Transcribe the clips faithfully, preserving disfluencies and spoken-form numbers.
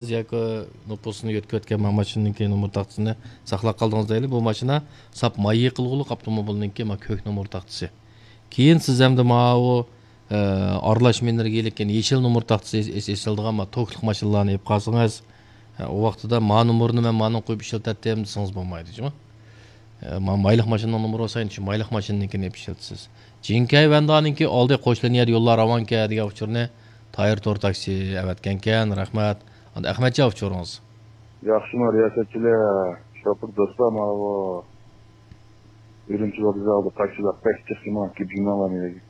ياكى نوپۇسىنى يۆتكەۋەتكەن ما ماشىنىنىڭكى نومۇر تاختىسىنى ساقلاپ قالدىڭىز دەيلى. بۇ ماشىنا ساپ مايا قىلغۇلۇق ئاپتوموبىلنىڭكى ما كۆك نومۇر تاختىسى. كېيىن سىز ئەمدى ماۋۇ، ئە، ئارىلاش مېنېرگىيىلىك، يەنى يېشىل نومۇر تاختىسى ئېس-، ئېس-، ئېسىلىدىغان ما توكلۇق ماشىنىلارنى ئېلىپ قالسىڭىز، ئە، ئۇ ۋاقتىدا ما نومۇرنى مەن مانىڭغا قويۇپ ئىشلىتەتتىم دېسىڭىز بولمايدۇ، جۇمۇ. ئە، ما-، مايلىق ماشىنىنىڭ نومۇرى بولسا، ئەنە شۇ مايلىق ماشىنىنىڭكىنى ئېلىپ ئىشلىتىسىز. جىنكەي ۋەندانىڭكى ئالدى قوش لىنىيەدە يوللار راۋانكەن دېگەن ئۇچۇرنى تايىر تور تاكسى ئەۋەتكەنكەن. رەھمەت. ئەمدى ئەخمەتجان ئۇچۇرىڭىز. ياخشىمۇ رىياسەتچىلەر، شوپۇر دوستلار، ماۋۇ ئۈرۈمچى ۋوگزالدا تاكسىلار بەك جىق، ماڭا كېپىمەڭلار نېرىگە.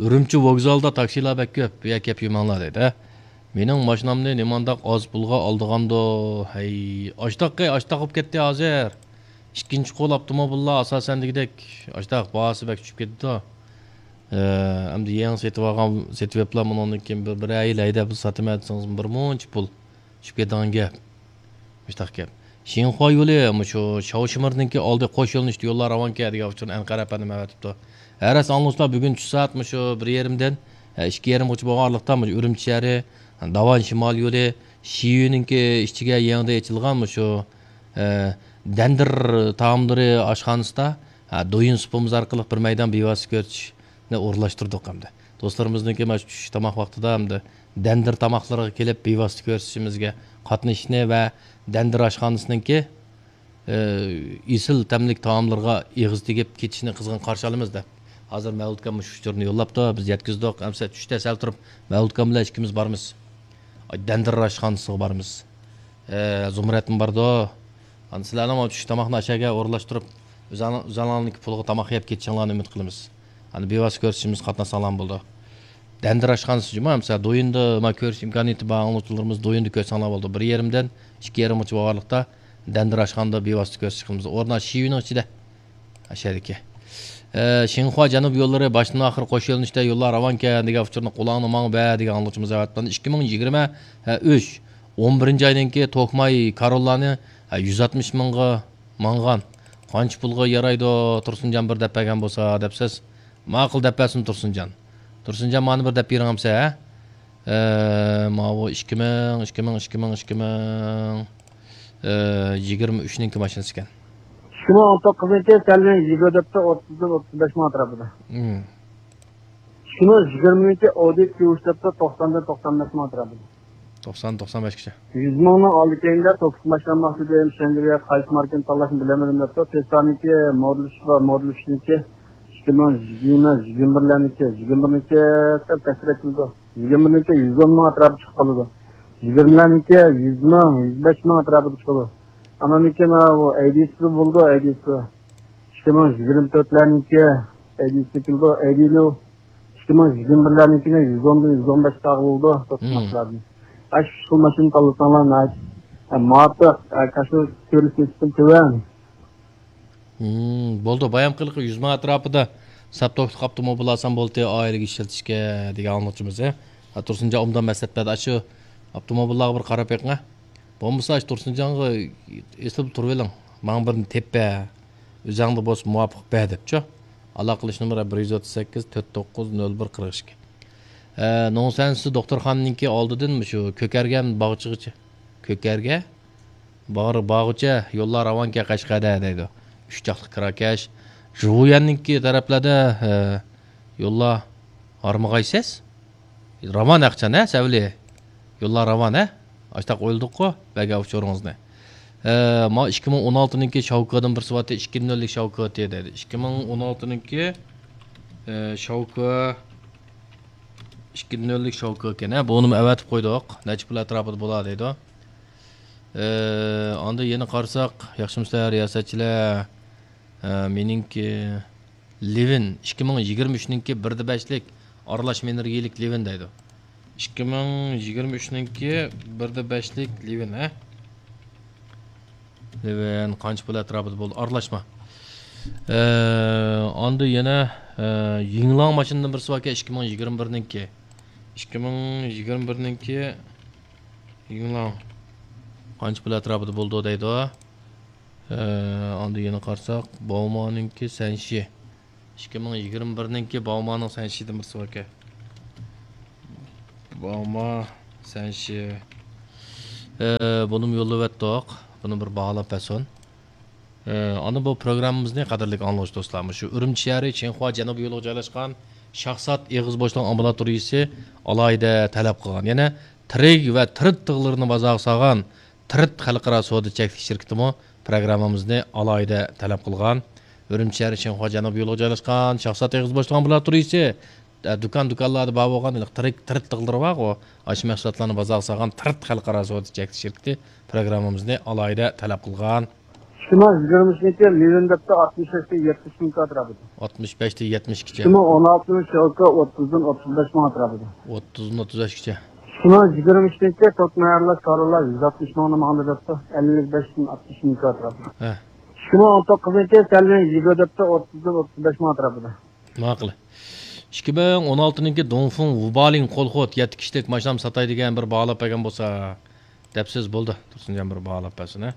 ئۈرۈمچى ۋوگزالدا تاكسىلار بەك كۆپ، بۇ يەرگە كېلىپ يۈرمەڭلار دەيدۇ، ھە؟ مېنىڭ ماشىنامنى نېمانداق ئاز پۇلغا ئالىدىغاندۇ؟ ھەي، ئاشتاق، ئاشتاق بولۇپ كەتتى ھازىر. ئىككىنچى قول ئاپتوموبىللار ئاساسەن دېگۈدەك ئاشتاق باھاسى بەك چۈشۈپ كېتىدۇ. ئە، ئەمدى يېڭى سېتىۋالغان، سېتىۋېپلا مۇنىڭدىن كېيىن بىر، بىر ئەي ھەيدەپ ساتىمەن دېسىڭىز، بىر مۇنچە پۇل چۈشۈپ كېتىدىغان گەپ. مۇشتاق گەپ. شىنخۇا يولى مۇشۇ شاۋشىمىرنىڭكى ئالدى قوش يۆنىلىشتە يوللار راۋانكەن دېگەن ئۇچۇرنى ئەنقەر ئەپەندىم ئەۋەتىپتۇ. ھە راست ئاڭلىغۇچىلار، بۈگۈن چۈش سائەت مۇشۇ بىر يېرىمدىن، ھە، ئىككى يېرىمغىچە بولغان ئارىلىقتا مۇشۇ ئۈرۈمچى شەھىرى، داۋان شىمال يولى، شىيۈنىڭكى ئىچىگە يېڭىدىن ئېچىلغان مۇشۇ، ئە، دەندىر تائاملىرى ئاشخانىسىدا، ھە، دويۇن سۇپىمىز ئارقىلىق بىر مەيدان بىۋاسىتە كۆرسىتىشنى ئورۇنلاشتۇردۇق ئەمدى. دوستلىرىمىزنىڭكى مانا شۇ چۈش تاماق ۋاقتىدا ئەمدى دەندىر تاماقلىرىغا كېلىپ بىۋاسىتە كۆرسىتىشىمىزگە قاتنىشىشنى ۋە دەندىر ئاشخانىسىنىڭكى، ئە، ئېسىل تەملىك تائاملىرىغا ئېغىز تېگىپ كېتىشىنى قىزغىن قارشى ئالىمىز دەپ، ھازىر مەۋلۇت ئاكام مۇشۇ ئۇچۇرنى يوللاپتۇ، بىز يەتكۈزدۇق. ئەمسە چۈشتە سەل تۇرۇپ مەۋلۇت ئاكام بىلەن ئىككىمىز بارىمىز. ئاي، دەندىر ئاشخانىسىغا بارىمىز. ئە، زۇمرەتمۇ بارىدۇ. ئانا سىلەرنىڭ چۈش تاماقنى ئاشەگە ئورۇنلاشتۇرۇپ، ئۆزەڭ-، ئۆزەڭلارنىڭكى پۇلىغا تاماق يەپ كېتىشىڭلارنى ئۈمىد قىلىمىز. ئانا بىۋاسىتە كۆرسىتىشىمىزگە قاتناشساڭلارمۇ بولىدۇ. دەندىر ئاشخانىسى جۇما، مىسال، دويىندا ما كۆرۈش ئىمكانىيىتى بار ئاڭلىغۇچىلىرىمىز دويىندا كۆرسەڭلار بولىدۇ. بىر يېرىمدىن ئىككى يېرىمغىچە بولغانلىقتا دەندىر ئاشخانىدا بىۋاسىتە كۆرسىتىش قىلىمىز. ئورنا شىۋىنىڭ ئىچىدە. ئاشەدىكى. ئە، شىنخۇا جەنۇب يوللىرى باشتىن ئاخىر قوش يۆنىلىشتە يوللار راۋانكەن دېگەن ئۇچۇرنى قۇلاقنى ماڭا بەر دېگەن ئاڭلىغۇچىمىز ئەۋەتىپتۇ. ئىككى مىڭ يىگىرمە ئۈچ، ئون بىرىنچى ئاينىڭكى توكماي كاروللانى، ھە، يۈز ئاتمىش مىڭغا ماڭغان. قانچە پۇلغا يارايدۇ، تۇرسۇنجان بىر دەپ بەرگەن بولسا دەپسىز. ماقۇل دەپ بەرسۇن تۇرسۇنجان. تۇرسۇنجان، مانا بىر دەپ بېرىڭ ئەمسە، ھە؟ ئە، ماۋۇ ئىككى مىڭ، ئىككى مىڭ، ئىككى مىڭ، ئىككى مىڭ، ئە، يىگىرمە ئۈچنىڭكى ماشىنىسى ئىكەن. ئىككى مىڭ ئون توققۇزنىڭكى سەلۋىن يىگىرمە تۆتتە ئوتتۇزدىن ئوتتۇز بەش مىڭ ئەتراپىدا. مم. ئىككى مىڭ يىگىرمىنىڭكى ئودى كيۇ ئۈچ دەپتۇ، توقساندىن توقسان بەش مىڭ ئەتراپىدا. توقسان، توقسان بەشكىچە. يۈز مىڭنىڭ ئالدى كەينىدە توكسىز ماشىنا ماقسىدى، شەنگىلىيە قايسى ماركىنى تاللاشنى بىلەلمىدىم دەپتۇ. تېسلانىڭكى مودېل ئۈچ بار، مودېل ئۈچنىڭكى ئىككى مىڭ يىگىرمە، يىگىرمە بىرلەرنىڭكى، يىگىرمە بىرنىڭكى سەل پەسرەك كېلىدۇ. يىگىرمە بىرنىڭكى يۈز ئون مىڭ ئەتراپىدا چىقىپ قالىدۇ. يىگىرمىلەرنىڭكى يۈز مىڭ، يۈز بەش مىڭ ئەتراپىدا چىقىدۇ. ئانىڭدىن كېيىن ماۋۇ ئەيدىسى بولىدۇ، ئەيدىسى. ئىككى مىڭ يىگىرمە تۆتلەرنىڭكى ئەيدىسى كېلىدۇ، ئەيدىنى ئىككى مىڭ يىگىرمە بىرلەرنىڭكىنى يۈز ئوندىن يۈز ئون بەش تاغا بولىدۇ، مم. توقۇنۇشلاردىن. ئاشۇ خىل ماشىنا تاللىساڭلار ناھايىتى، ئە، مۇۋاپىق، ئە، كاشۇ كۆرۈش نىسبىتى تۆۋەن. مم، بولدى، بايام قىلىقى يۈز مىڭ ئەتراپىدا ساپ توكلۇق ئاپتوموبىل ئالسام بولدى، ئائىلىگە ئىشلىتىشكە دېگەن ئاڭلىغۇچىمىز، ھە. ھە، تۇرسۇنجان ئوبدان مەسلىھەت بەردى. ئاشۇ ئاپتوموبىللارغا بىر قاراپ بېقىڭ، ھە. بولمىسا، ئاشۇ تۇرسۇنجانغا ئېسىل تۇرۇۋېلىڭ. ماڭا بىرنى تېپىپ بەر. ئۆزەڭدە بولسا مۇۋاپىق بەر دەپچۇ. ئالاقىلىشىش نومۇرى بىر يۈز ئوتتۇز سەككىز، تۆت توققۇز نۆل بىر، قىرىق ئىككى. ئە، نوڭسەنسى دوختۇرخانىنىڭكى ئالدىدىن مۇشۇ كۆكەرگەن باغچىغىچە. كۆكەرگە باغ-، باغچە يوللار راۋانكەن قەشقەردە دەيدۇ. ئۈچ چاقلىق كىراكەش. ژۇۋيەننىڭكى تەرەپلەردە، ئە، يوللار ھارمىغايسىز. راۋان ئەخچان، ھە، سەۋلى؟ يوللار راۋان، ھە؟ ئاشتاق ئويلىدۇققۇ، بەرگەن ئۇچۇرىڭىزنى. ئە، ما ئىككى مىڭ ئون ئالتىنىڭكى شاۋكىدىن بىرسى بارتى، ئىككى نۆللۈك شاۋكى دەيدۇ. ئىككى مىڭ ئون ئالتىنىڭكى، ئە، شاۋكى، ئىككى نۆللۈك شاۋكى ئىكەن، ھە؟ بۇنىمۇ ئەۋەتىپ قويدۇق. نەچچە پۇل ئەتراپىدا بولا دەيدۇ. ئە، ئاندىن يەنە قارىساق، ياخشىمۇسىلەر، رىياسەتچىلەر؟ ئە، مېنىڭكى لىۋىن، ئىككى مىڭ يىگىرمە ئۈچنىڭكى بىردە بەشلىك ئارىلاش مېنېرگىيىلىك لىۋىن دەيدۇ. ئىككى مىڭ يىگىرمە ئۈچنىڭكى بىردە بەشلىك لىۋىن، ھە؟ لىۋىن قانچە پۇل ئەتراپىدا بولدى؟ ئارىلاشما. ئە، ئاندىن يەنە، ئە، يىڭلاڭ ماشىنىدىن بىرسى باركەن، ئىككى مىڭ يىگىرمە بىرنىڭكى. ئىككى مىڭ يىگىرمە بىرنىڭكى يىڭلاڭ قانچە پۇل ئەتراپىدا بولىدۇ دەيدۇ. ئە، ئاندىن يەنە قارىساق، باۋمانىڭكى سەنشى. ئىككى مىڭ يىگىرمە بىرنىڭكى باۋمانىڭ سەنشىدىن بىرسى باركەن. باۋما سەنشى. ئە، بۇنىمۇ يوللىۋەتتۇق. بۇنى بىر باھالاپ بەرسۇن. ئە، ئانا بۇ پروگراممىمىزنى، قەدىرلىك ئاڭلىغۇچى دوستلار، مۇشۇ ئۈرۈمچى شەھىرى چىڭخۇا جەنۇبىي يولىغا جايلاشقان شاھزات ئېغىز بوشلۇق ئامبۇلاتورىيىسى ئالاھىدە تەلەپ قىلغان. يەنە تىرىك ۋە تىرىت تىغلىرىنى بازارغا سالغان تىرىت خەلقئارا سودا چەكلىك شىركىتىمۇ پروگراممىمىزنى ئالاھىدە تەلەپ قىلغان. ئۈرۈمچى شەھىرى چىڭخۇا جەنۇبىي يولىغا جايلاشقان شاھزات ئېغىز بوشلۇق ئامبۇلاتورىيىسى، ئە، دۇكان-دۇكانلاردا بار بولغان ھېلىقى تىرىك، تىرىت تىغلىرى بارغۇ، ئاشۇ مەھسۇلاتلارنى بازارغا سالغان تىرىت خەلقئارا سودا چەكلىك شىركىتى پروگراممىمىزنى ئالاھىدە تەلەپ قىلغان. ئىككى مىڭ يىگىرمە ئۈچىنچى يىلى لىۋېندېپتا ئاتمىش بەشتىن يەتمىش مىڭ كۋادرات. ئاتمىش بەشتىن يەتمىش ئىككىچە. ئىككى مىڭ ئون ئالتىنچى يىلى ئوتتۇزدىن ئوتتۇز بەش مىڭ ئەتراپىدا. ئوتتۇزدىن ئوتتۇز بەشكىچە. ئىككى مىڭ يىگىرمە ئۈچىنچى توك مەيەرلەش كارۋانلار يۈز ئاتمىش مىڭنى ماڭدۇرۇپتۇ، ئەللىك بەشتىن ئاتمىش مىڭ ئەتراپىدا. ھە. ئىككى مىڭ ئون توققۇزىنچى سەلۋىن يىگىرمە دەپتە ئوتتۇزدىن ئوتتۇز بەش مىڭ ئەتراپىدا. ماقۇل. ئىككى مىڭ ئون ئالتىنىڭكى دۇڭفېڭ ۋۇبالىڭ قولخوت يەتتە كىشىلىك ماشىنام ساتاي دېگەن بىر باھالاپ بەرگەن بولسا، دەپسىز، بولدى. تۇرسۇنجان بىر باھالاپ بەرسۇن، ھە.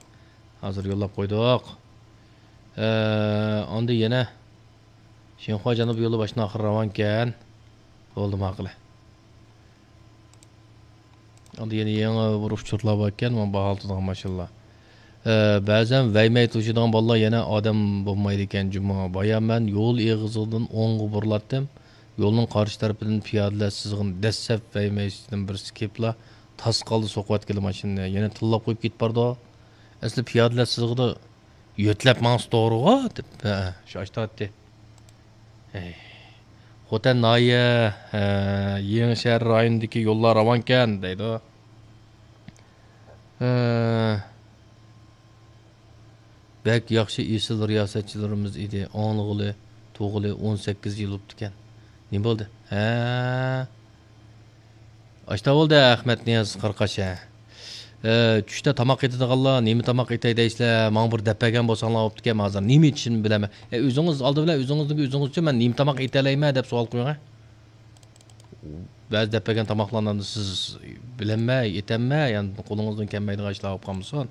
ھازىر يوللاپ قويدۇق. ئە، ئاندىن يەنە شىنخۇا جەنۇبىي يولى باشتىن ئاخىر راۋانكەن. بولدى، ماقۇل. ئاندىن يەنە يېڭى بىر ئۇچۇرلار باركەن، مانا باھالىتىدىغان ماشىنىلار. ئە، بەزەن ۋەيمەي توشۇيدىغان بالىلار يەنە ئادەم بولمايدىكەن جۇمۇ. بايا مەن يول ئېغىزىدىن ئوڭغا بۇرۇلاتتىم. يولنىڭ قارشى تەرىپىدىن پىيادىلەر سىزغىن دەسسەپ ۋەيمەيسىدىن بىرسى كېلىپلا تاسقالدا سوقۇۋەتكىلى ماشىنىنى. يەنە تىللاپ قويۇپ كېتىپ بارىدۇ. ئەسلى پىيادىلەر سىزىقىدا يۆتلەپ ماڭسا توغرىغۇ دەپ، ھە، شۇ ئاشتاتتى. ھەي. خوتەن ناھىيە، ھە، يېڭىشەھەر رايونىدىكى يوللار راۋانكەن دەيدۇ. ھە. بەك ياخشى، ئېسىل رىياسەتچىلىرىمىز ئىدى. ئاڭلىغىلى، تۇغۇلى ئون سەككىز يىل بوپتىكەن. نېمە بولدى؟ ھە. ئاشتا بولدى، ئەخمەتنىياز قاراقاش، ھە. ئە، چۈشتە تاماق ئېتىدىغانلار نېمە تاماق ئېتەي دەيسىلەر، ماڭا بىر دەپ بەرگەن بولساڭلار بوپتىكەن، ھازىر نېمە ئېتىشىمنى بىلەلمەي. ئە، ئۆزىڭىز ئالدى بىلەن ئۆزىڭىزنىڭ ئۆزىڭىزچە مەن نېمە تاماق ئېتەلەيمەن دەپ سوئال قويۇڭ، ھە. بەزى دەپ بەرگەن تاماقلارنى سىز بىلەلمەي، ئېتەلمەي، يەنى قولىڭىزدىن كەلمەيدىغان ئىشلار بولۇپ قالمىسۇن.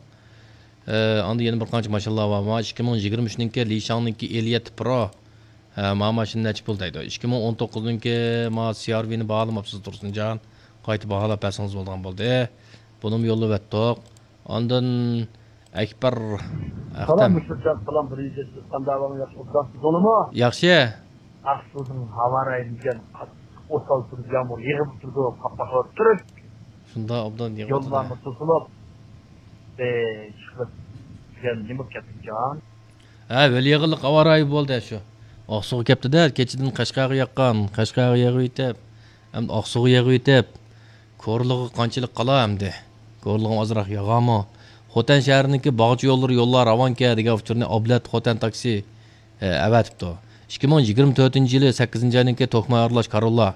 ئە، ئاندىن يەنە بىر قانچە ماشىنىلار بار. مانا ئىككى مىڭ يىگىرمە ئۈچنىڭكى لىشاڭنىڭكى ئېلىيەتتە پرو. ھە، مانا ماشىنا نەچچە پۇل دەيدۇ؟ ئىككى مىڭ ئون توققۇزنىڭكى مانا سىئارۋىنى باھالىماپسىز تۇرسۇنجان. قايتا باھالاپ بەرسىڭىز بولىدىغان بولدى. بۇنىمۇ يوللىۋەتتۇق. ئاندىن ئەكبەر سالام ئەختەم. مۇشتەق، سالام، بىر يۈز يەتمىش، قانداق ئەھۋالىڭ، ياخشى ئوبدانسىز، توغرىمۇ؟ ياخشى. ئاقسۇدىن ھاۋاراي دېگەن ئوسال تۇرۇپ يامغۇر يېغىپ تۇرىدۇ، قاپقاقلاپ تۇرۇپ. شۇنداق ئوبدان يېغىپ تۇرىدۇ. يوللارمۇ توسۇلۇپ، ئى، چىقىپ دېگەن نېمە بولۇپ كەتتىكەن؟ ھە، ھۆل يېغىنلىق ھاۋارايى بولدى شۇ. ئاقسۇغا كەپتۇ-دە، كېچىدىن قەشقەرگە ياققان، قەشقەرگە يېغىۋېتىپ، ئەمدى ئاقسۇغا يېغىۋېتىپ، كورلىغا قانچىلىك قالا ئەمدى؟ كورلىغىمۇ ئازراق ياغامۇ؟ خوتەن شەھىرىنىڭكى باغچە يوللىرى يوللار راۋانكەن دېگەن ئۇچۇرنى ئابلەت خوتەن تاكسى، ئە، ئەۋەتىپتۇ. ئىككى مىڭ يىگىرمە تۆتىنچى يىلى سەككىزىنچى ئاينىڭكى توكماي ئارىلاش كارۋانلار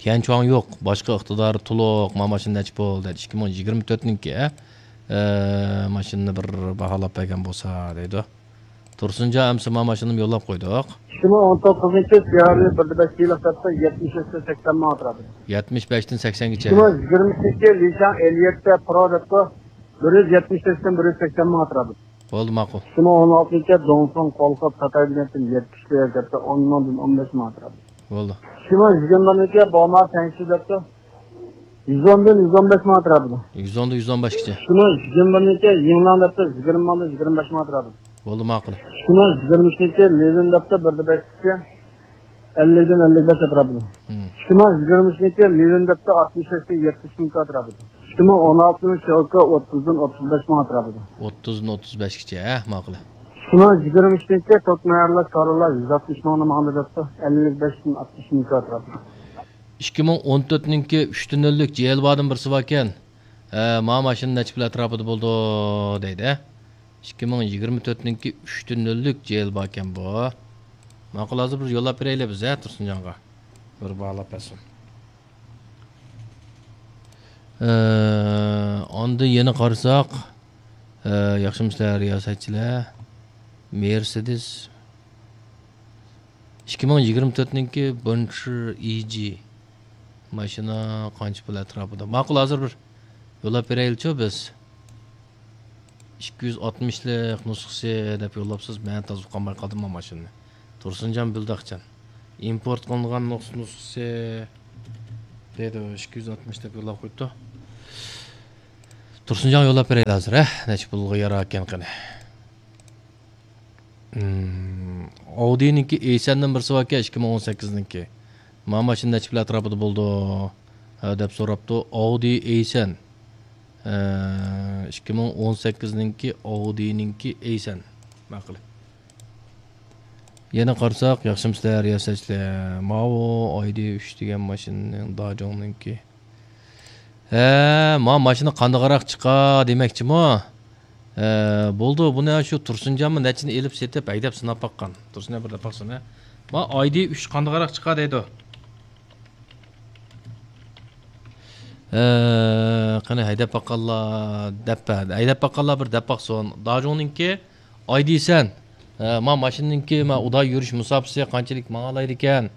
تيەنچۇاڭ يوق، باشقا ئىقتىدارى تولۇق، ما ماشىنا نەچچە پۇل دەيدۇ. ئىككى مىڭ يىگىرمە تۆتىنىڭكى، ئە، ماشىنىنى بىر باھالاپ بەرگەن بولسا دەيدۇ. تۇرسۇنجان ئەمىسە ما ماشىنىنى يوللاپ قويدۇق. ئىككى مىڭ ئون توققۇزىنچى سىيارى بىر بەش يىللىق دەپتۇ، يەتمىش ئۈچتىن سەكسەن مىڭ ئەتراپىدا. يەتمىش بەشتىن سەكسەنگىچە. ئىككى مىڭ يىگىرمە ئۈچىنچى لىشاڭ ئېلىيەتتە پرو دەپتۇ، بىر يۈز يەتمىش بەشتىن بىر يۈز سەكسەن مىڭ ئەتراپىدا. بولدى، ماقۇل. ئىككى مىڭ ئون ئالتىنچى دونفېڭ قولخوپ ساتاي دېگەنتىن يەتمىش بىر دەپتۇ، ئون مىڭدىن ئون بەش مىڭ ئەتراپىدا. بولدى. ئىككى مىڭ يىگىرمىنىڭكى بوما سەنشى دەپتۇ، يۈز ئوندىن يۈز ئون بەش مىڭ ئەتراپىدا. يۈز ئوندىن يۈز ئون بەشكىچە. ئىككى مىڭ يىگىرمىنىڭكى يىڭناڭ دەپتۇ، يىگىرمە مىڭدىن يىگىرمە بەش مىڭ ئەتراپىدا. بولدى، ماقۇل. ئىككى مىڭ يىگىرمە ئۈچىنچى لىۋېن دەپتۇ، بىردە بەشكىچە، ئەللىكتىن ئەللىك بەش ئەتراپىدا. ھىم. ئىككى مىڭ يىگىرمە ئۈچىنچى لىۋېن دەپتۇ، ئاتمىش بەشتىن يەتمىش مىڭ ئەتراپىدا. ئىككى مىڭ ئون ئالتىنچى يىلقى ئوتتۇزدىن ئوتتۇز بەش مىڭ ئەتراپىدا. ئوتتۇزدىن ئوتتۇز بەشكىچە، ھە، ماقۇل. ئىككى مىڭ يىگىرمە ئۈچىنچى توك مەيەرلەش كارۋانلار يۈز ئاتمىش مىڭنى ماڭدى دەپتۇ، ئەللىك بەشتىن ئاتمىش مىڭ ئەتراپىدا. ئىككى مىڭ ئون تۆتنىڭكى ئۈچتە نۆللۈك جېيىل باردىن بىرسى باركەن. ھە، ما ماشىنا نەچچە پۇل ئەتراپىدا بولىدۇ دەيدۇ، ھە؟ ئىككى مىڭ يىگىرمە تۆتنىڭكى ئۈچتە نۆللۈك جېيىل باركەن بۇ. ماقۇل، ھازىر بىر يوللاپ بېرەيلى بىز، ھە، تۇرسۇنجانغا. بىر باھالاپ بەرسۇن. ئە، ئاندىن يەنە قارىساق، ئە، ياخشىمۇسىلەر رىياسەتچىلەر؟ مېرسېدېس ئىككى مىڭ يىگىرمە تۆتنىڭكى بونچىر ئىجى ماشىنا قانچە پۇل ئەتراپىدا؟ ماقۇل، ھازىر بىر يوللاپ بېرەيلىچۇ بىز. ئىككى يۈز ئاتمىشلىق نۇسخىسى دەپ يوللاپسىز، مەن تازا ئۇقالماي قالدىم مانا ماشىنىنى. تۇرسۇنجان بىلداقچان. ئىمپورت قىلىنغان نۇس-، نۇسخىسى دەيدۇ، ئىككى يۈز ئاتمىش دەپ يوللاپ قويۇپتۇ. تۇرسۇنجانغا يوللاپ بېرەيلى ھازىر، ھە؟ نەچچە پۇلغا ياراركەن قېنى؟ ئاودىنىڭكى ئېيسەندىن بىرسى باركەن، ئىككى مىڭ ئون سەككىزنىڭكى. ما ماشىنا نەچچە پۇل ئەتراپىدا بولىدۇ؟ ھە، دەپ سوراپتۇ. ئاۋدى ئېيسەن. ئىككى مىڭ ئون سەككىزنىڭكى ئاۋدىنىڭكى ئېيسەن. ماقۇل. يەنە قارىساق، ياخشىمۇسىلەر، رىياسەتچىلەر؟ ماۋۇ ئايدى ئۈچ دېگەن ماشىنىنىڭ، داجۇڭنىڭكى. ھە، ما ماشىنا قانداقراق چىقا دېمەكچىمۇ؟ ھە، بولدى، بۇنى شۇ تۇرسۇنجانمۇ نەچچىنى ئېلىپ سېتىپ ھەيدەپ سىناپ باققان. تۇرسۇنجان بىر دەپ باقسۇن، ھە. ما ئايدى ئۈچ قانداقراق چىقا دەيدۇ. ھە، قېنى ھەيدەپ باققانلار دەپ بەر. ھەيدەپ باققانلار بىر دەپ باقسۇن. داجۇڭنىڭكى ئايدى ئېيسەن، ھە، ما ماشىنىنىڭكى، ما ئۇدا يۈرۈش مۇساپىسى قانچىلىك ماڭالايدىكەن؟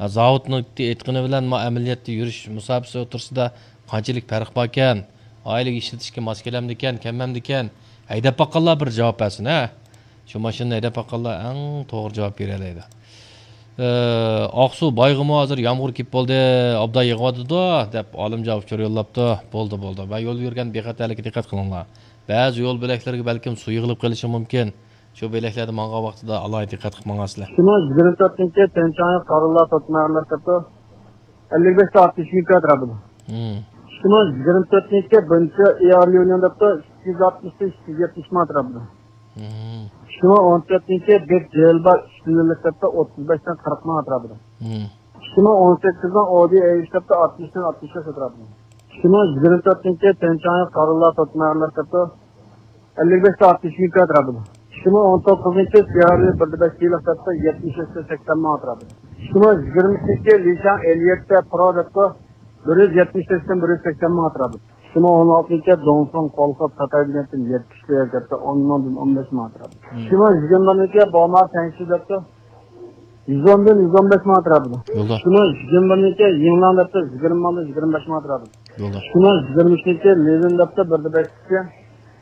ھە، زاۋۇتنىڭ ئېيتقىنى بىلەن ما ئەمەلىيەتتە يۈرۈش مۇساپىسى ئوتتۇرىسىدا قانچىلىك پەرق باركەن؟ ئائىلىگە ئىشلىتىشكە ماس كېلەمدىكەن، كەلمەمدىكەن؟ ھەيدەپ باققانلار بىر جاۋاب بەرسۇن، ھە. شۇ ماشىنىنى ھەيدەپ باققانلار ئەڭ توغرا جاۋاب بېرەلەيدۇ. ئە، ئاقسۇ بايغىمۇ ھازىر يامغۇر كېلىپ بولدى، ئوبدان يېغىۋاتىدۇ، دەپ ئالىمجان ئۇچۇر يوللاپتۇ. بولدى، بولدى. ۋە يول يۈرگەندە بىخەتەرلىككە دىققەت قىلىڭلار. بەزى يول بۆلەكلىرىگە بەلكىم سۇ يىغىلىپ قېلىشى مۇمكىن. شۇ بۆلەكلەردە ماڭغان ۋاقتىدا ئالاھىدە دىققەت قىلىپ ماڭاسىلەر. شۇنىڭ يىگىرمە تۆتىنچى تيەنشانغا قارىلار توتمايارلار كەپتۇ. ئەللىك بەشتە ئاتمىش مىڭ كىلومېتىر بولدى. شۇنىڭ يىگىرمە تۆتىنچى بىرىنچى ئېئار ليۇنىڭ دەپتۇ ئىككى يۈز ئاتمىش، ئىككى يۈز يەتمىش مىڭ ئەتراپىدا. شۇنىڭ ئون تۆتىنچى بىر جېل بار ئۈستۈنلۈك دەپتۇ ئوتتۇز بەشتىن قىرىق مىڭ ئەتراپىدا. شۇنىڭ ئون سەككىزىنىڭ ئودى ئېيش دەپتۇ ئاتمىشتىن ئاتمىش بەش ئەتراپىدا. شۇنىڭ يىگىرمە تۆتىنچى تيەنشانغا قارىلار توتمايارلار دەپتۇ ئەللىك بەشتە ئاتمىش مىڭ كىلومېتىر بولدى. شۇنىڭ ئون توققۇزىنچى سياررى بىردە بەش كىلو دەپتۇ يەتمىش ئۈچتىن سەكسەن مىڭ ئەتراپىدا. شۇنىڭ يىگىرمە ئۈچىنچى لىشاڭ ئەللىك يەتتە پرو دەپتۇ بىر يۈز يەتمىش تۆتتىن بىر يۈز سەكسەن مىڭ ئەتراپىدا. شۇنىڭ ئون ئالتىنچى دونسۇن قولخوپ خىتاي دېگەندىن يەتمىش بىر دەپتۇ ئون مىڭدىن ئون بەش مىڭ ئەتراپىدا. شۇنىڭ يىگىرمە بىرىنچى بوما سەنشى دەپتۇ يۈز ئوندىن يۈز ئون بەش مىڭ ئەتراپىدا. يولدا. شۇنىڭ يىگىرمە بىرىنچى يىڭلاڭ دەپتۇ يىگىرمە مىڭدىن يىگىرمە بەش مىڭ ئەتراپىدا. يولدا. شۇنىڭ يىگىرمە ئۈچىنچى لىۋىن دەپتۇ بىردە بەشكىچە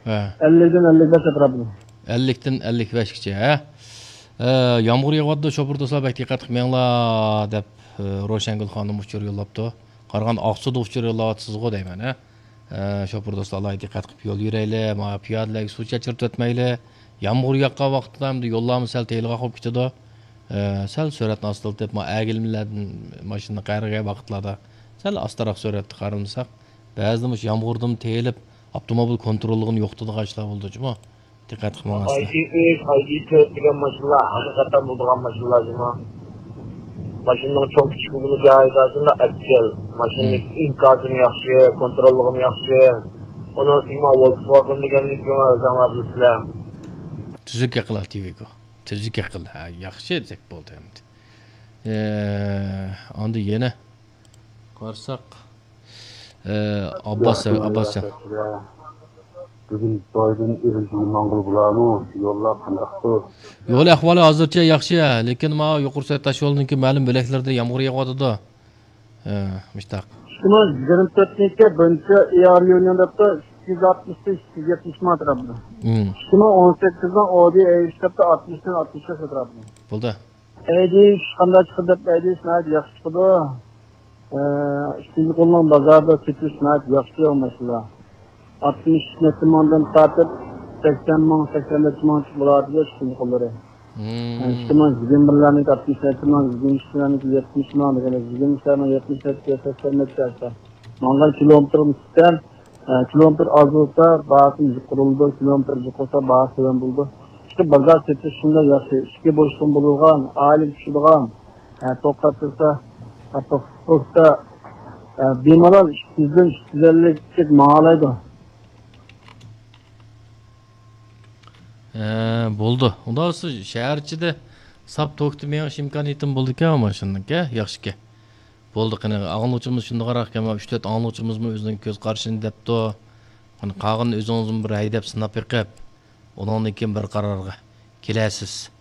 ھە. ئەللىكتىن ئەللىك بەش ئەتراپىدا. ئەللىكتىن ئەللىك بەشكىچە، ھە؟ ئە، يامغۇر يېغىۋاتىدۇ، شوپۇر دوستلار بەك دىققەت قىلىپ مېڭىڭلار، دەپ، ئە، روشەنگۈل خانىم ئۇچۇر يوللاپتۇ. قارىغاندا ئاقسۇدا ئۇچۇر يوللاۋاتىسىزغۇ دەيمەن، ھە؟ ئە، شوپۇر دوستلار ئالاھىدە دىققەت قىلىپ يول يۈرەيلى، مانا پىيادىلەرگە سۇ چاچرىتىۋەتمەيلى. يامغۇر ياغقان ۋاقىتتا ئەمدى يوللارمۇ سەل تېيىلغاق بولۇپ كېتىدۇ. ئە، سەل سۈرئەتنى ئاستىلىتىپ، ما ئەگىلمىلەردىن ماشىنىنى قايرىغان ۋاقىتلاردا سەل ئاستىراق سۈرئەتتە قايرىلىساق، بەزىدە مۇشۇ يامغۇردىن تېيىلىپ، ئاپتوموبىل كونتروللۇقىنى يوقىتىدىغان ئىشلار بولىدۇ جۇمۇ. دىققەت قىلمىغانسىلەر. ئايدى ئۈچ، ئايدى تۆت دېگەن ماشىنىلار ھەقىقەتەن بولىدىغان ماشىنىلار جۇمۇ. ماشىنىنىڭ چوڭ كىچىكلىكىنى جايىدا ئەپچىل. ماشىنىنىڭ ئىنكاسىمۇ ياخشى، كونتروللۇقىمۇ ياخشى. ئۇنىڭ ئۈستىگە مانا ۋولكسۋاگېن دېگەننى ئۆزۈڭلار بىلىسىلەر. تۈزۈك ئەقىل ئاكتىۋىگو. تۈزۈك ئەقىل. ھە، ياخشى دېسەك بولدى ئەمدى. ئە، ئاندىن يەنە قارىساق، ئە، ئابباس، ياخشى، ئابباسجان. ياخشى. بۈگۈن بايدىن ئېرىشىگە ماڭغىلى بولارمۇ؟ يوللار قانداقتۇ؟ يول ئەھۋالى ھازىرچە ياخشى، لېكىن ماۋۇ يۇقىرى سۈرئەت تاشيولىنىڭكى مەلۇم بۆلەكلىرىدە يامغۇر يېغىۋاتىدۇ. ئە، مۇشتاق. شۇنىڭ يىگىرمە تۆتىنچى بىرىنچى ئېئار ليۇنىڭ دەپتۇ ئىككى يۈز ئاتمىش، ئىككى يۈز يەتمىش مىڭ ئەتراپىدا. شۇنىڭ ئون سەككىزىنىڭ ئودى ئېيش دەپتۇ ئاتمىشتىن ئاتمىش بەش ئەتراپىدا. بولدى. ئەيدىش قانداق چىقىدۇ دەپ، ئەيدىش ناھايىتى ياخشى چىقىدۇ. ئە، ئىككىنچى قولنىڭ بازاردا سېتىش ناھايىتى ياخشى ئۇ ماشىنىلار. ئاتمىش نەچچە مىڭدىن تارتىپ سەكسەن مىڭ، سەكسەن نەچچە مىڭ چىقىپ بولىدۇ ئىككىنچى قوللىرى. ئىككى مىڭ يىگىرمە بىرلەرنىڭكى ئاتمىش نەچچە مىڭ، يىگىرمە ئىككىلەرنىڭكى يەتمىش مىڭ دېگەندەك، يىگىرمە ئىككىلەرنىڭ يەتمىش نەچچە، سەكسەن نەچچە ئاشتا. ماڭغان كىلومېتىرىم سۈپتەن، ئە، كىلومېتىر ئاز بولسا باھاسى يۇقىرى بولىدۇ، كىلومېتىر جىق بولسا باھاسى تۆۋەن بولىدۇ. ئىشقىلىپ بازار سېتىش شۇنداق ياخشى، ئىشىكى بوشلۇقى بولىدىغان، ئائىلىگە چۈشىدىغان، ئە، توختاپ تۇرسا، ئاپتوبۇستا، ئە، بىمالال ئىككى يۈزدىن ئۈچ يۈز ئەللىك ماڭالايدۇ. ھە، بولدى. ئۇنداق بولسا شەھەر ئىچىدە ساپ توكتا مېڭىش ئىمكانىيىتىمۇ بولىدىكەن ماشىنىنىڭكى، ياخشىكەن. بولدى، قېنى، ئاڭلىغۇچىمىز شۇنداقراق ئىكەن، ئۈچ تۆت ئاڭلىغۇچىمىزمۇ ئۆزىنىڭ كۆز قارىشىنى دەپتۇ. قېنى، قالغىنىنى ئۆزىڭىزمۇ بىر ھەيدەپ سىناپ بېقىپ، ئۇنىڭدىن كېيىن بىر قارارغا كېلەرسىز.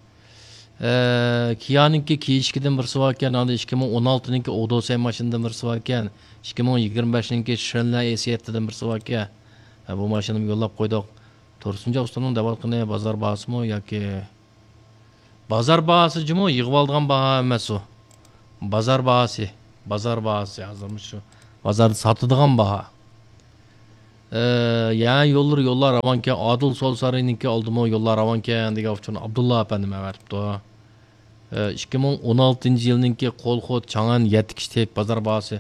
ئە، كىيانىڭكى كېيىشكىدىن بىرسى باركەن، ئاندىن ئىككى مىڭ ئون ئالتىنىڭكى ئودوسەي ماشىنىدىن بىرسى باركەن، ئىككى مىڭ يىگىرمە بەشنىڭكى شىرىنلەر ئېس يەتتىدىن بىرسى باركەن. ھە، بۇ ماشىنىمۇ يوللاپ قويدۇق. تۇرسۇنجان ئۇستامنىڭ دەۋاتقىنى بازار باھاسىمۇ ياكى بازار باھاسى جۇمۇ، يىغىۋالىدىغان باھا ئەمەس ئۇ. بازار باھاسى، بازار باھاسى ھازىر مۇشۇ بازاردا ساتىدىغان باھا. ئە، يەنە يوللىرى يوللار راۋانكەن، ئادىل سول سارىيىنىڭكى ئالدىمۇ يوللار راۋانكەن دېگەن ئۇچۇرنى ئابدۇللا ئەپەندىم ئەۋەتىپتۇ. ئە، ئىككى مىڭ ئون ئالتىنچى يىلنىڭكى قولخو چاڭئەن يەتتە كىشىلىك بازار باھاسى.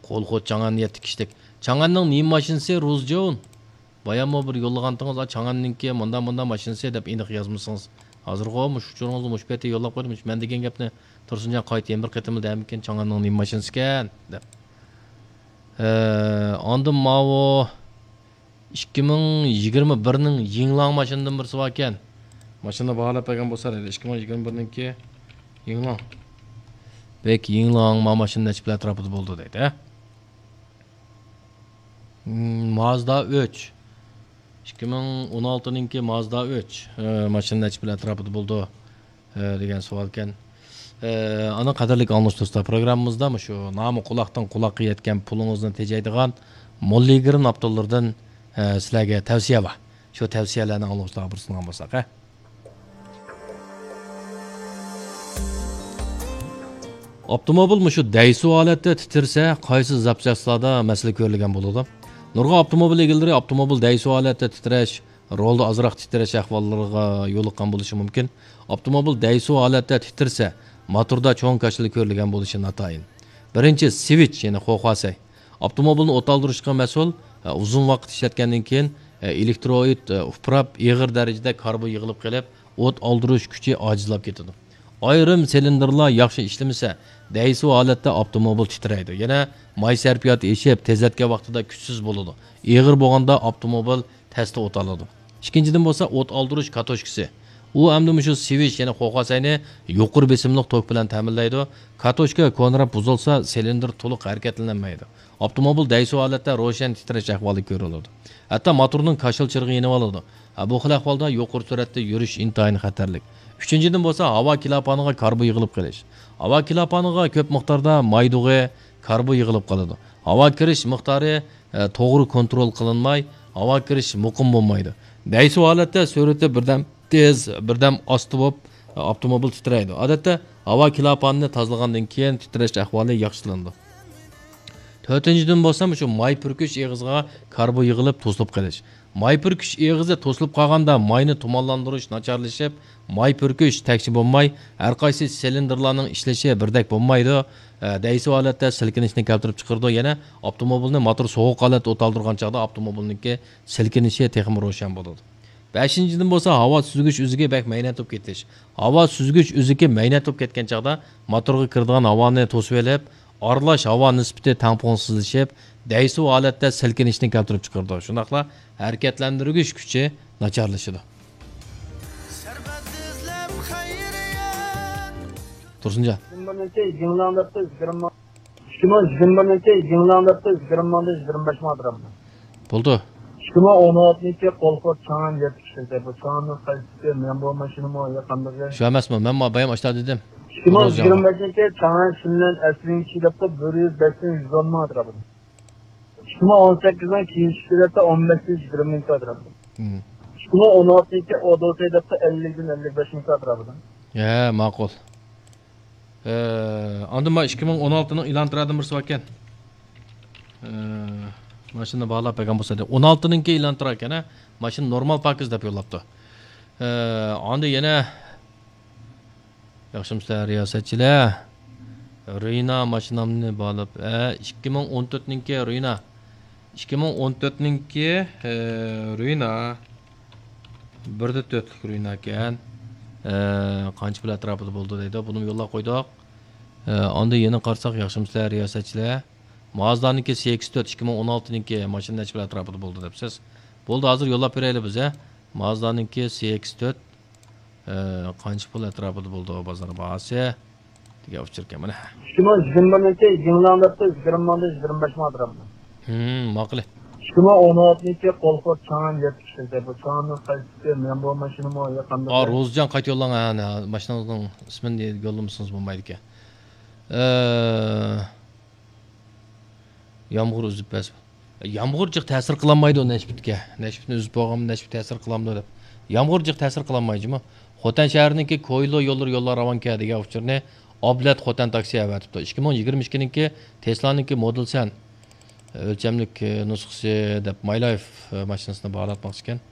قولخو چاڭئەن يەتتە كىشىلىك. چاڭئەننىڭ نېمە ماشىنىسى، روزجون؟ باياممۇ بىر يوللىغانتىڭىز، «ئا، چاڭئەننىڭكى مۇنداق، مۇنداق ماشىنىسى» دەپ ئېنىق يازمىسىڭىز. ھازىرغۇ مۇشۇ ئۇچۇرىڭىزنى مۇشۇ پېتى يوللاپ قويدۇم. مەن دېگەن گەپنى تۇرسۇنجان قايتا يەنە بىر قېتىملا دەمىكىن، «چاڭئەننىڭ نېمە ماشىنىسىكەن؟» دەپ. ئە، ئاندىن ماۋۇ ئىككى مىڭ يىگىرمە بىرنىڭ يىڭلاڭ ماشىنىدىن بىرسى باركەن. ماشىنا باھالاپ بەرگەن بولسا دەيدۇ. ئىككى مىڭ يىگىرمە بىرنىڭكى يىڭلاڭ. بەك يىڭلاڭ ما ماشىنا نەچچە پۇل ئەتراپىدا بولىدۇ دەيدۇ، ھە؟ مم، مازدا ئۈچ. ئىككى مىڭ ئون ئالتىنىڭكى مازدا ئۈچ. ئە، ماشىنا نەچچە پۇل ئەتراپىدا بولىدۇ؟ ئە، دېگەن سوئالكەن. ئە، ئانا قەدىرلىك ئاڭلىغۇچى دوستلار، پروگراممىمىزدا مۇشۇ نامى قۇلاقتىن قۇلاققا يەتكەن پۇلىڭىزنى تېجەيدىغان موللىگرىن ئاپتورلىرىدىن، ئە، سىلەرگە تەۋسىيە بار. شۇ تەۋسىيەلەرنى ئاڭلىغۇچىلارغا بىر سۇنغان بولساق، ھە؟ ئاپتوموبىل مۇشۇ دەيسۇ ھالەتتە تىترىسە، قايسى زاپچاسلاردا مەسىلە كۆرۈلگەن بولىدۇ؟ نۇرغۇن ئاپتوموبىل ئىگىلىرى ئاپتوموبىل دەيسۇ ھالەتتە تىترەش، رولدا ئازراق تىترەش ئەھۋاللىرىغا يولۇققان بولۇشى مۇمكىن. ئاپتوموبىل دەيسۇ ھالەتتە تىترىسە، موتوردا چوڭ كاشىلا كۆرۈلگەن بولۇشى ناتايىن. بىرىنچى، سۋىچ، يەنى خوخۋاسەي. ئاپتوموبىلنى ئوت ئالدۇرۇشقا مەسئۇل، ئۇزۇن ۋاقىت ئىشلەتكەندىن كېيىن، ئېلېكتروئىد ئۇپراپ، ئېغىر دەرىجىدە كاربون يىغىلىپ قېلىپ، ئوت ئالدۇرۇش كۈچى ئاجىزلاپ كېتىدۇ. ئايرىم سىلىندىرلار ياخشى ئىشلىمىسە، دەيسۇ ھالەتتە ئاپتوموبىل تىترەيدۇ. يەنە ماي سەرپىياتى ئېشىپ، تېزلەتكەن ۋاقتىدا كۈچسىز بولىدۇ. ئېغىر بولغاندا ئاپتوموبىل تەستە ئوت ئالىدۇ. ئىككىنچىدىن بولسا ئوت ئالدۇرۇش كاتوچكىسى. ئۇ ئەمدى مۇشۇ سۋىچ، يەنى خوخۋاسەينى يۇقىرى بېسىملىق توك بىلەن تەمىنلەيدۇ. كاتوچكا كونىراپ بۇزۇلسا، سىلىندىر تولۇق ھەرىكەتلىنەلمەيدۇ. ئاپتوموبىل دەيسۇ ھالەتتە روشەن تىترەش ئەھۋالى كۆرۈلىدۇ. ھەتتا موتورنىڭ كاشىلا چىرىغى يېنىۋالىدۇ. ھە، بۇ خىل ئەھۋالدا يۇقىرى سۈرئەتتە يۈرۈش ئىنتايىن خەتەرلىك. ئۈچىنچىدىن بولسا ھاۋا كىلاپانىغا كاربون يىغىلىپ قېلىش. ھاۋا كىلاپانىغا كۆپ مىقداردا مايدۇغى، كاربون يىغىلىپ قالىدۇ. ھاۋا كىرىش مىقدارى، ئە، توغرا كونترول قىلىنماي، ھاۋا كىرىش مۇقىم بولمايدۇ. دەيسۇ ھالەتتە سۈرئىتى بىردەم تېز، بىردەم ئاستا بولۇپ، ئاپتوموبىل تىترەيدۇ. ئادەتتە ھاۋا كىلاپانىنى تازىلىغاندىن كېيىن تىترەش ئەھۋالى ياخشىلىنىدۇ. تۆتىنچىدىن بولسا مۇشۇ ماي پۈركۈش ئېغىزىغا كاربون يىغىلىپ توسۇلۇپ قېلىش. ماي پۈركۈش ئېغىزى توسۇلۇپ قالغاندا ماينى تۇمانلاندۇرۇش ناچارلىشىپ، ماي پۈركۈش تەكشى بولماي، ھەر قايسى سىلىندىرلارنىڭ ئىشلىشى بىردەك بولمايدۇ. ئە، دەيسۇ ھالەتتە سىلكىنىشنى كەلتۈرۈپ چىقىرىدۇ. يەنە ئاپتوموبىلنى موتور سوغۇق ھالەتتە ئوت ئالدۇرغان چاغدا ئاپتوموبىلنىڭكى سىلكىنىشى تېخىمۇ روشەن بولىدۇ. بەشىنچىدىن بولسا ھاۋا سۈزگۈچ ئۈزۈكى بەك مەينەت بولۇپ كېتىش. ھاۋا سۈزگۈچ ئۈزۈكى مەينەت بولۇپ كەتكەن چاغدا موتورغا كىرىدىغان ھاۋانى توسۇۋېلىپ، ئارىلاش ھاۋا نىسبىتى تەڭپۇڭسىزلىشىپ، دەيسۇ ھالەتتە سىلكىنىشنى كەلتۈرۈپ چىقىرىدۇ. شۇنداقلا ھەرىكەتلەندۈرگۈش كۈچى ناچارلىشىدۇ. تۇرسۇنجان. ئىككى مىڭ يىگىرمە بىرنىڭكى يىڭلاڭ دەپتۇ، يىگىرمە مىڭدا يىگىرمە بەش مىڭ ئەتراپىدا. بولدى. ئىككى مىڭ ئون ئالتىنچى قولخور چاڭئەن يەتتە كىشىلىك. بۇ چاڭئەننىڭ قايسىسى؟ مەن بۇ ماشىنىمۇ يا قانداق؟ شۇ ئەمەسمۇ؟ مەن ما بايام ئاشتا دېدىم. ئىككى مىڭ يىگىرمە بەشىنچى چاڭئەن شىنلەن ئەسلىنىڭ كىشى دەپتۇ، بىر يۈز بەش مىڭ يۈز ئون مىڭ ئەتراپىدا. ئىككى مىڭ ئون سەككىزنىڭ كېيىنكىسى دەپتۇ، ئون بەش يۈز يىگىرمە مىڭ ئەتراپىدا. مم. ئىككى مىڭ ئون ئالتىنچى ئودوسەي دەپتۇ، ئەللىكتىن ئەللىك بەش مىڭ ئەتراپىدا. ھە، ماقۇل. ئە، ئاندىن ما ئىككى مىڭ ئون ئالتىنىڭ ئېلان تۇرادىن بىرسى باركەن. ئە، ماشىنا باھالاپ بەرگەن بولسا دەپ. ئون ئالتىنىڭكى ئېلان تۇراركەن، ھە؟ ماشىنا نورمال پاكىز دەپ يوللاپتۇ. ئە، ئاندىن يەنە ياخشىمۇسىلەر رىياسەتچىلەر؟ رېنا ماشىنامنى باھالاپ، ئە، ئىككى مىڭ ئون تۆتنىڭكى رېنا. ئىككى مىڭ ئون تۆتنىڭكى، ئە، رېنا. بىر دە تۆتلۈك رېنا ئىكەن. ئە، قانچە پۇل ئەتراپىدا بولىدۇ دەيدۇ. بۇنىمۇ يوللاپ قويدۇق. ئە، ئاندىن يەنە قارىساق، ياخشىمۇسىلەر رىياسەتچىلەر؟ مازدانىڭكى سى ئېكس تۆت، ئىككى مىڭ ئون ئالتىنىڭكى ماشىنا نەچچە پۇل ئەتراپىدا بولىدۇ دەپسىز. بولدى، ھازىر يوللاپ بېرەيلى بىز، ھە. مازدانىڭكى سى ئېكس تۆت، ئە، قانچە پۇل ئەتراپىدا بولىدۇ بازار باھاسى؟ دېگەن ئۇچۇر ئىكەن مانا. ئىككى مىڭ يىگىرمە بىرنىڭكى يىڭلاڭ دەپتۇ، يىگىرمە مىڭدىن يىگىرمە بەش مىڭ ئەتراپىدا. ھىم، ماقۇل. ئىككى مىڭ ئون ئالتىنچى قولخور چاڭئەن يەتتە كىشىلىك. بۇ چاڭئەننىڭ قايسىسى؟ مەن بۇ ماشىنىمۇ يا قانداق؟ ئا، روزىجان قايتا يوللاڭ، ھە، ھە، ماشىنىڭىزنىڭ ئىسمىنى يوللىمىسىڭىز بولمايدىكەن. ئە، يامغۇر ئۈزۈپ بەرسە. يامغۇر جىق تەسىر قىلالمايدۇ نەشپۈتكە. نەشپۈتنى ئۈزۈپ بولغانمۇ، نەشپۈت تەسىر قىلامدۇ دەپ. يامغۇر جىق تەسىر قىلالمايدۇ جۇمۇ. خوتەن شەھىرىنىڭكى كويلو يوللىرى يوللار راۋانكەن دېگەن ئۇچۇرنى ئابلەت خوتەن تاكسى ئەۋەتىپتۇ. ئىككى مىڭ يىگىرمە ئىككىنىڭكى تېسلانىڭكى مودېل سەن. ئۆلچەملىك، ئە، نۇسخىسى دەپ ماي لايف، ئە، ماشىنىسىنى باھالاتماقچىكەن.